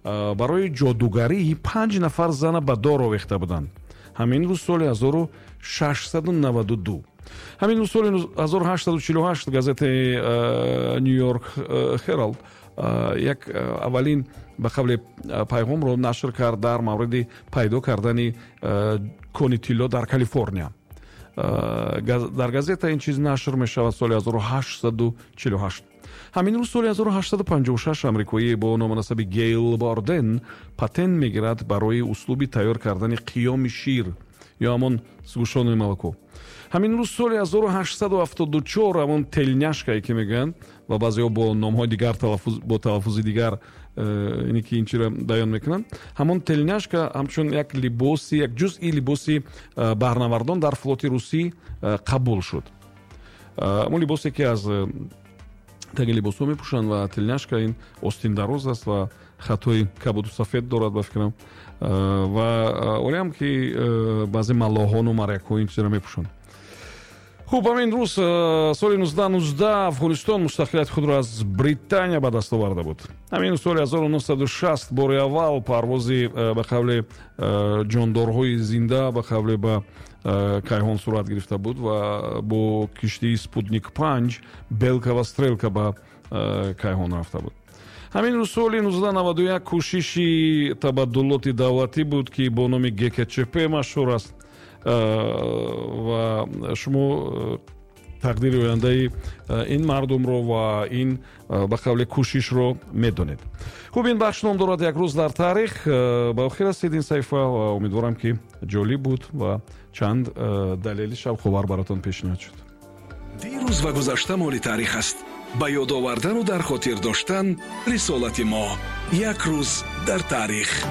Барои ҷодугарӣ панҷ нафар зана ба дор овехта буданд. Ҳамин рӯз соли 1692. Ҳамин рӯз соли 1848 газетаи Нью-Йорк Хералд як аввалин, ба қавле, пайғомро нашр кард дар мавриди пайдо кардани кони тилло дар Калифорния. Дар газета ин чиз нашр мешавад соли 1848. Ҳамин рӯз соли 1856 амрикоӣ бо ному насаби Гейл Барден патент мегирад барои услуби тайёр кардани қиёми шир ё ҳамон сгущённое молоко. Ҳамин рӯз соли 1874 ҳамон тельняшкае, ки мегӯянд ва баъзеҳо бо номҳои дигар, бо талаффузи дигар ине ки ин чиро баён мекунанд, ҳамон тельняшка ҳамчун як либоси, як ҷузъи либоси баҳрнавардон дар флоти русӣ қабул шуд. Ҳамон либосе, ки аз таги либосҳо мепӯшанд, ва тельняшка ин остиндароз аст ва хатҳои кабуду сафед дорад, ба фикрам, ва олиам ки баъзе маллоҳону морякҳо ин чизро мепӯшанд. Хуб, ҳамин рӯз соли 1919 Афғонистон мустақилияти худро аз Британия ба даст оварда буд. Ҳамин соли 1960 бори аввал парвози, ба қавле, ҷондорҳои зинда, ба қавле, ба кайҳон сурат гирифта буд ва бо киштии Спутник 5 Белка ва Стрелка ба кайҳон рафта буд. Ҳамин рӯз соли 1991 кӯшиши табаддулоти давлатӣ буд, ки бо номи ГКЧП машҳур аст, ва шумо тақдири ояндаи ин мардумро ва ин, ба қавле, кӯшишро медонед. Хуб, ин бахш ном дорад «Як рӯз дар таърих». Ба охир расид ин саҳифа ва умедворам, ки ҷолиб буд ва чанд далели шавқовар баротон пешниҳод шуд. Дирӯз ва гузашта моли таърих аст. Ба ёд овардану дар хотир доштан рисолати мо. «Як рӯз дар таърих».